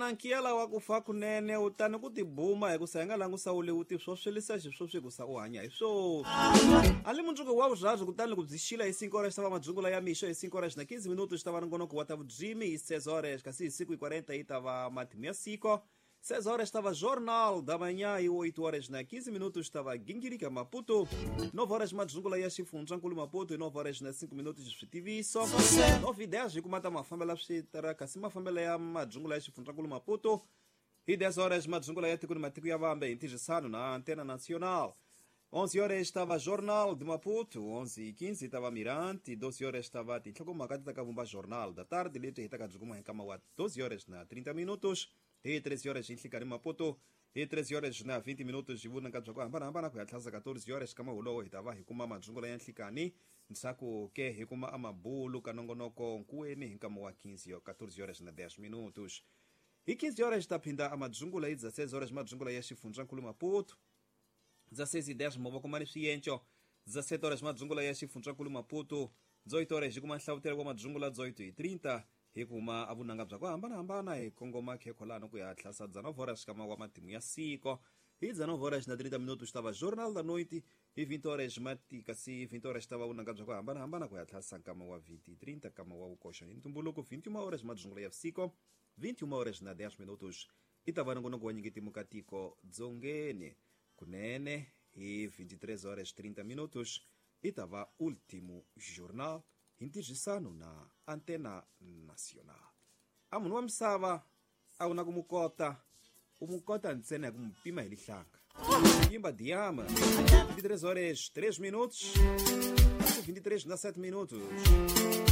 Na nkiyela wa ku fa kunene u tani ku tibuma hikusa hi nga langusa u le u tiswoswelisa xiswoswi hikusa u hanya hi swo a li mundzuku wa vurharu kutani loko byi xila hi 5 horas xi ta va madzungula ya mixo hi 5 horas na 15 minutos xi ta va nongonoko wa ta vudzimi hi 6 horas kasi hi siku hi 40 yi ta va matimu ya siko 6 horas estava Jornal da Manhã e 8 horas na 15 minutos estava Guingirica Maputo. 9 horas Madzungula ya Xifundzhankulu Maputo e 9 horas na 5 minutos Switiviso. 9 e 10 hi kuma ta mafambela swi kasi mafambela ya Madzungula ya Xifundzhankulu Maputo. E 10 horas Madzungula ya Tiko ni Matiko ya Vambe em tirhisano na Antena Nacional. 11 horas estava Jornal de Maputo, 11 e 15 estava Mirante, 12 horas estava Tinhlokomhaka ti ta ka vumba Jornal da Tarde, leti hi ta ka byi kuma hi nkama wa 12 horas na 30 minutos. Hi 13 horas hi nhlikani Maputo, hi 13 horas na 20 minutos hi vunanga bya ku hambanahambana ku ya tlhasa 14 horas ka mahulowo hi ta va hi kuma madzungula ya nhlikani ndzhaku ke hi kuma amabulu ka nongonoko nkuweni hi nkama wa 15 14 horas na 10 minutos. Hi 15 horas ta phinda amadzungula hi 16 horas madzungula ya Xifundzhankulu Maputo. 16 e 10 mova kuma ni swiyenco 17 horas madzungula ya Xifundzhankulu Maputo 18 horas hi kuma nhlavutelo wa madzungula 18 hi 30 hi kuma avunanga bya ku hambanahambana hi kongoma khekholano ku ya tlhasa 19 horas kama wa matimu ya siko hi 19 horas na 30 minutos tava Jornal da Noite hi 20 horas mati kasi 20 horas tava vunanga bya ku hambanahambana ku ya tlhasa nkama wa 20 30 kama wa vukoxa hi ntumbuluko 21 horas madzungula ya siko 21 horas na 10 minutos i ta va nongonoko wa nyingetimu ka tiko dzongeni kunene hi 23 horas 30 minutos i ta va Último Jornal hi ntirhisano na Antena Nacional. A munhu wa misava a wu na ku mu kota u mu kota ntsena hi ku mu pima hi lihlanga yimba diama 23 horas 3 minutos 23 na 7 minutos.